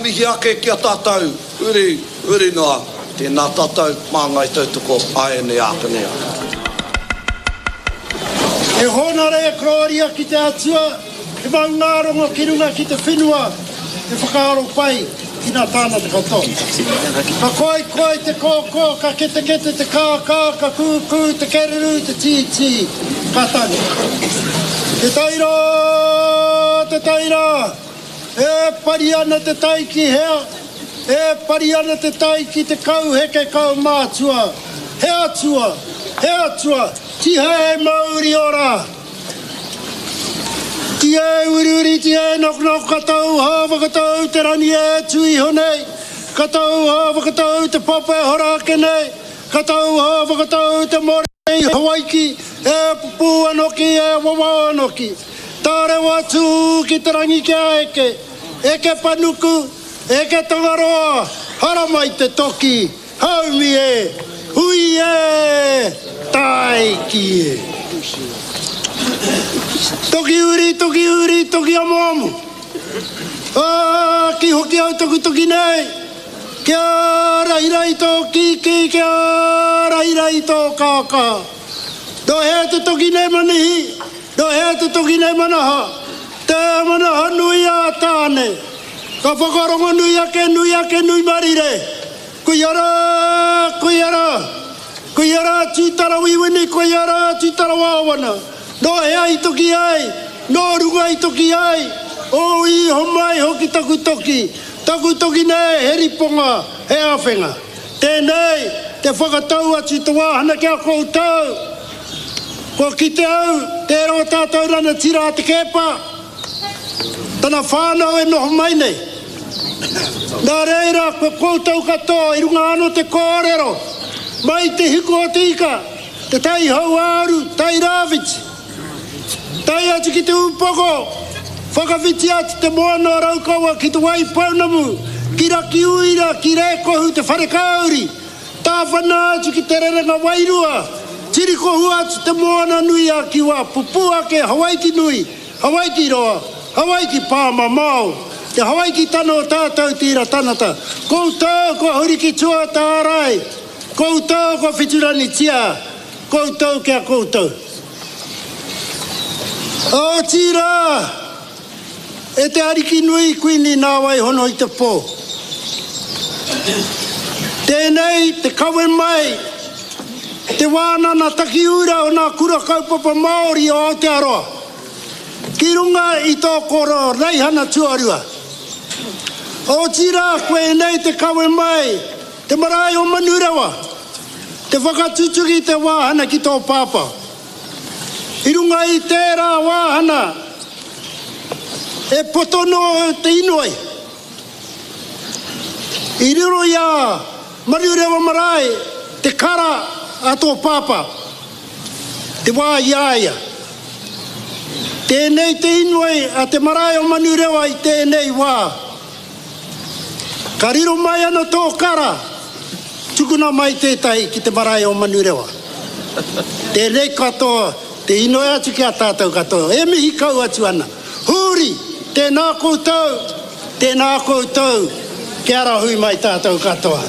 mihi ake ki a tātou, huri, huri noa, tēnā tātou, māngai tautoko, āianei ākene ake. He hōnore e kororia ki te Atua, he maungārongo ki runga ki te whenua, he whakaaro pai ki ngā tāngata katoa. Ka koikoi te kōkō, ka ketekete te kākā, ka kūkū te kererū, te tītī, ka tangi. Te taira, te taira, e pari ana te tai ki hea? E pari ana te tai ki te kauheke kaumātua, he atua, he atua, tihei mauri ora! Tihei uriuri, tihei noknok, ka tau hā whakatau te rangi e tū iho nei, ka tau hā whakatau te papa e hora ake nei, ka tau hā whakatau te more i Hawaiki, e pupū anoki, e wawao anoki. Tārewa atu ki te rangi kia eke, eke panuku, Eke Tangaroa, haramai te toki, haumi e, hui e, taiki e. Toki uri, toki uri, toki amoamo. Ā, ki hoki au taku toki nei, kia rahirahi tō kīkī, kia rahirahi tō kākā. Nō hea te toki nei Manihi, nō hea te toki nei Manaha, te manaha nui a Tāne. Ka whakarongo nui ake, nui ake, nui marire. Koia rā, koia rā. Koia rā Tūtarawiwini, koia rā Tūtarawāwana. Nō hea i toki ai, nō runga i toki ai, ō i homai hoki taku toki, taku toki nei he riponga, he āwhenga. Tēnei te whakatau atu te wāhana ki a koutou. Kua kite au, tērā o tātou ranatira a Te Keepa, Tana whānau e noho mai nei. Nā reira, ko koutou katoa i runga anō te kōrero, mai te hiku o te ika, te tai hauāuru, tai rāwhiti, tae atu ki te ūpoko, whakawhiti atu te moana o Raukawa ki Te Waipounamu, ki Rakiuira, ki Rēkohu, te Wharekāuri, tāwhana atu ki Te Rerenga Wairua, tirikohua atu te moana nui a Kiwa, pupū ake Hawaiki nui, Hawaiki roa, Hawaiki pāmamao, te Hawaiki tana o tātou te ira tanata, koutou kua huri ki tua o te ārai, koutou kua whituranitia, koutou ki a koutou. Otirā, e te Ariki nui Kuini nāwai hono i te pō. Tēnei te kawe mai te wānana takiura o nā kura kaupapa Māori o Aotearoa ki runga i tō koro raihana tuarua. Otirā koinei te kawe mai te marae o Manurewa, te whakatutuki te wāhana ki tō pāpā. I runga i tērā wāhana e poto noa te inoi. I riro i a Manurewa Marae te kara a tō pāpā, te wā i a ia. Tēnei te inoi a te marae o Manurewa i tēnei wā. Ka riro mai ana tō kara, tukuna mai tētahi ki te marae o Manurewa. Tēnei katoa te inoi atu ki a tātou katoa, e mihi kau atu ana. Hūri, tēnā koutou, tēnā koutou, kia rahui mai tātou katoa.